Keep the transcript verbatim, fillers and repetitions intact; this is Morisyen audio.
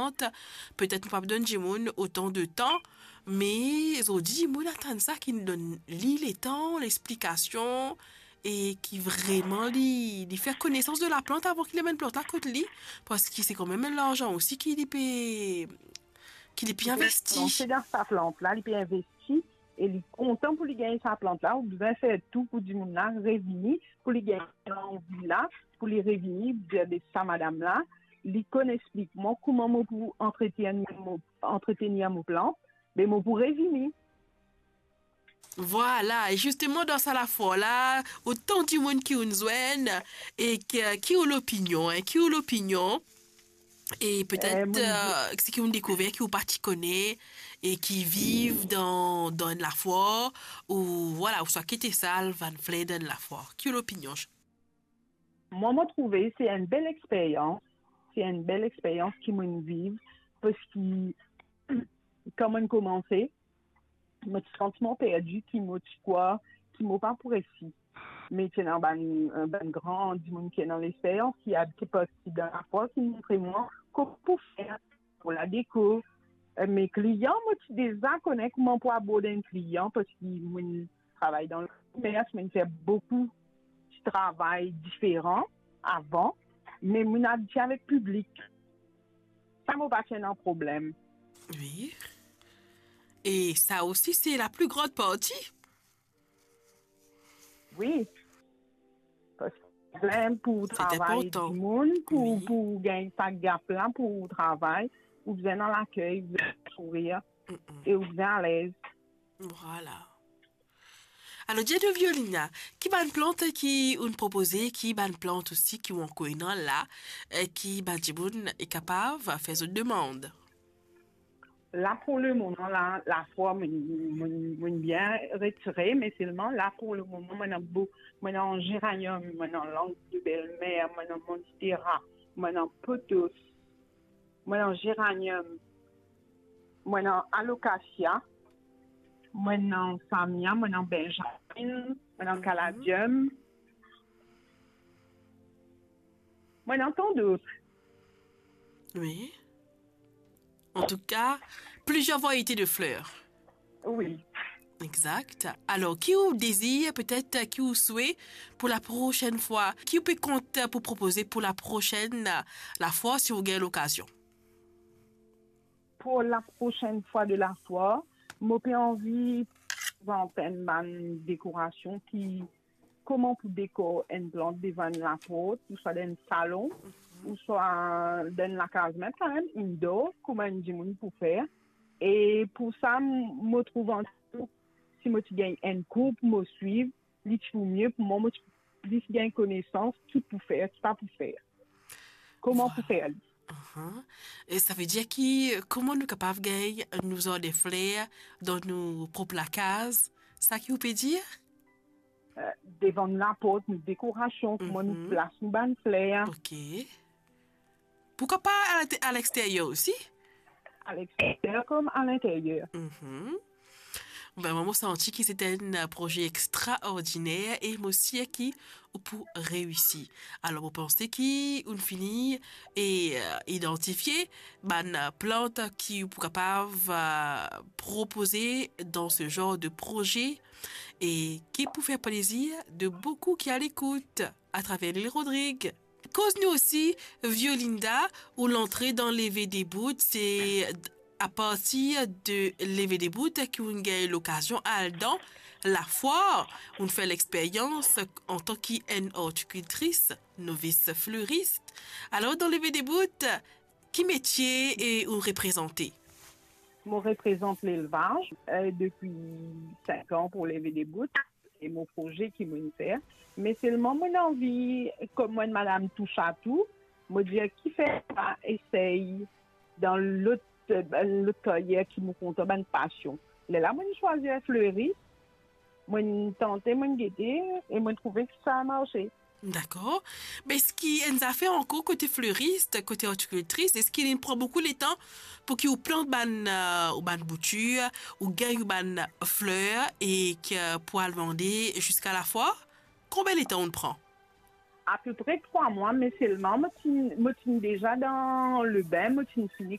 plant. Petet nou pa donn dimoun otan de tan, me zordi dimoun atann sa, ki donn li letan, lexplikasion, e ki vreman li, li fer konesans de laplant avan ki li amenn plant la kot li, parski se kanmem larzan osi ki li pe, ki li pe investi. Li pe lanse dan sa plant la, li pe investi e li kontan pou li gagn sa plant la. Ou bizin fer tou pou dimoun la revini, pou li gagn lanvi la, pou li revini, dir de sa madam la, li konn explik mwa kouma mo pou antretenir mo, antretenir mo plant, be mo pou revini. Vwala, e zisteman dan sa lafwar la, otan dimoun ki ou'nn zwenn, e ki, ki ou lopinion, en, ki ou lopinion, e petet, Eh, mo, eh, seki ou'nn dekouver ki ou pa ti kone, e ki viv dan, dan enn lafwar, ou, vwala, ouswa ki ti sal bann fler dan enn lafwar. Ki ou lopinion? Mwa, mo trouve se enn bel experyans, se enn bel experyans ki mo'nn viv, parski kan mo'nn koumanse, mo ti santi mwa perdi, ki mo ti krwar ki mo pa pou resi. Me ti ena bann, bann gran dimoun ki ena lexperyans, ki abit parti dan lafwar, ki montre mwa kouma pou fer pou ladeko. Eh, me klian, mo ti deza kone kouma pou abord enn klian, parski mo'nn travay dan lekomers, mo'nn fer boukou ti travay diferan avan, me mo'nn abitie avek piblik. Sa mo pa ti ena problem. Wi. E sa osi, se la pli gran parti. Wi. Parski bizin pou travay dimoun, pou, wi, pou gagn sa gap la, pou travay, ou bizin dan lakey, ou bizin sourir, mm-mm, e ou bizin alez. Vwala. Alor, dir nou, Violina, ki bann plant ki ou'nn propoze, ki bann plant osi ki ou ankor ena la, eh, ki bann dimoun e kapav fer zot demann? La, pou lemoman, la, lafwar, mo'nn, mo'nn, mo'nn bien retire, me selman, la, pou lemoman, mo ena bou-, mo ena zeraniom, mo ena langue de belle-mère, mo ena monstera, mo ena potos, mo ena zeraniom, mo ena alokasia, mo ena samia, mo ena benjamin, mo ena, mhm, kaladiom, mo ena tant d'autres. Wi. Antouka, plizier variete de fler. Wi. Exakt. Alor, ki ou dezir, petet, ki ou swe pou la prosenn fwa? Ki ou pe kont pou propoze pou la prosenn, eh, lafwar, si ou gagn lokazion? Pou la prosenn fwa de lafwar, mo pe anvi prezant enn bann dekorasion ki, kouma pou dekor enn plant devan enn laport, ouswa dan enn salon, mhm, ouswa dan enn lakaz, mem karemem indoor, kouma enn dimoun pou fer. E pou sa, m-, mo trouv antou, si mo ti gagn enn kour pou mo swiv, li ti pou mie pou mwa, mo ti pou plis gagn konesans ki pou fer, ki pa pou fer. Kouma pou fer li. Ahan. E savedir ki, kouma nou kapav gagn nou zardin fler dan nou prop lakaz? Sa ki ou pe dir? Eh, devan laport, nou dekorasion, kouma nou, mhm, plas nou bann fler. Ok. Pourkwa pa a linte-, a lexteryer osi? A lexteryer kouma a linteryer. Mhm. Ben, mwa, mo santi ki se enn proze extraordiner e mo sir ki ou pou reisi. Alor, mo panse ki ou'nn fini e, eh, idantifie bann plant ki ou pou kapav, eh, propoze dan se zanr de proze e ki pou fer plezir de boukou ki a lekout atraver Lil Rodrig. Koz nou osi, Violinda, ou lantre dan Leve Debout, se apartir de Leve Debout ki ou'nn gagn lokazion al dan lafwar, ou'nn fer lexperyans antan ki enn ortikiltris, novis fleris. Alor, dan Leve Debout, ki metie e ou reprezante? Mo reprezant lelvaz, eh, depi sink an pou Leve Debout. Se mo proze ki mo'nn fer. Me selman mo'nn anvi, kom mo enn madam touche à tout, mo dir kifer pa esey dan lot, eh, lot karyer ki mo kontan, bann pasion. Lerla mo'nn swazir fleris, mo'nn tante, mo'nn gete, e mo'nn trouve ki sa marse. Dakor. Me eski enn zafer ankor kote fleris, kote ortikiltris, eski li pran boukou letan pou ki ou plant bann, eh, ou bann boutir, ou gagn ou bann fler e ki, eh, pou al vande ziska lafwar? Konbien letan ou pran? Apepre trwa mwa, me selman mo ti, mo ti deza dan lebin, mo ti fini